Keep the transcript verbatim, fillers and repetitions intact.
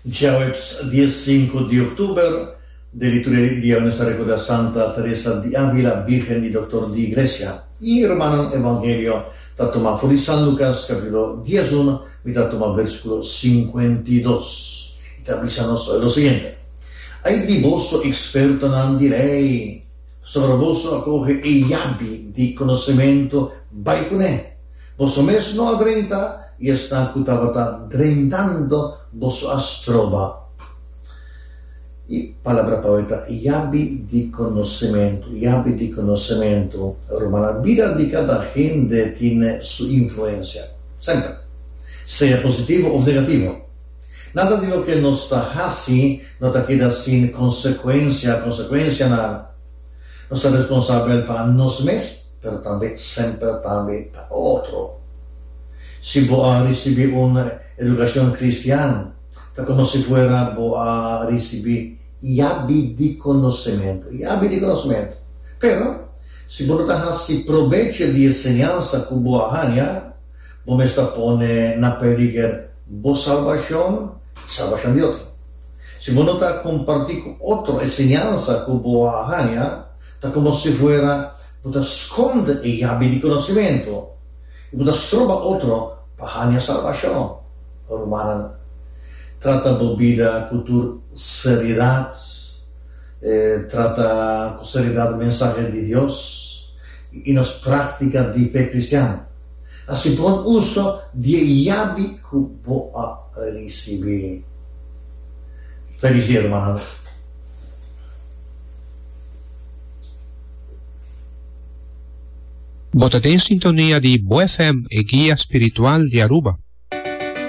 Djaweps dies sinku di òktober, den liturgia di awe nos ta rekordá Santa Teresa di Ávila, Bírgen i Doktor di Iglesia. I rumannan, Evangelio ta tuma for di San Lukas kapítulo dies un, mi ta tuma versíkulo sinkuenta i dos. I ta bisa nos lo siguiente: Ai di boso, ekspertonan di lei, pasobra boso a kohe e yabi di konosementu bai kuné. Boso mes no a drenta, i esnan ku tabata drentando boso a stroba. E palabra pa awe ta yabi di konosementu, yabi di konosementu. Rumannan, bida di kada hende tin su influensia, semper, sea positivo òf negativo. Nada di loke nos ta hasi no ta keda sin konsekuensia, konsekuensianan. Nos ta responsabel pa nos mes, pero tambe semper tambe pa otro. Si bo a risibí un edukashon kristian, ta komo si fuera bo a risibí yabi di konosementu, yabi di konosementu. Pero, si bo no ta hasi probecho di e enseñansa ku bo a haña, bo mes ta pone na peliger bo salbashon i salbashon di otro. Si bo no ta kompartí ku otro e enseñansa ku bo a haña, ta komo si fuera bo ta skonde e yabi di konosementu i bo ta stroba otro pa haña salbashon. Rumannan, trata bo bida ku tur seriedat, trata ku seriedat mensahe di Dios i nos práktika di fe kristian. Hasi bon uso di e yabi ku bo a risibí. Felis dia, rumannan. Bo ta den sintonia di Bo F M, e guia spiritual di Aruba.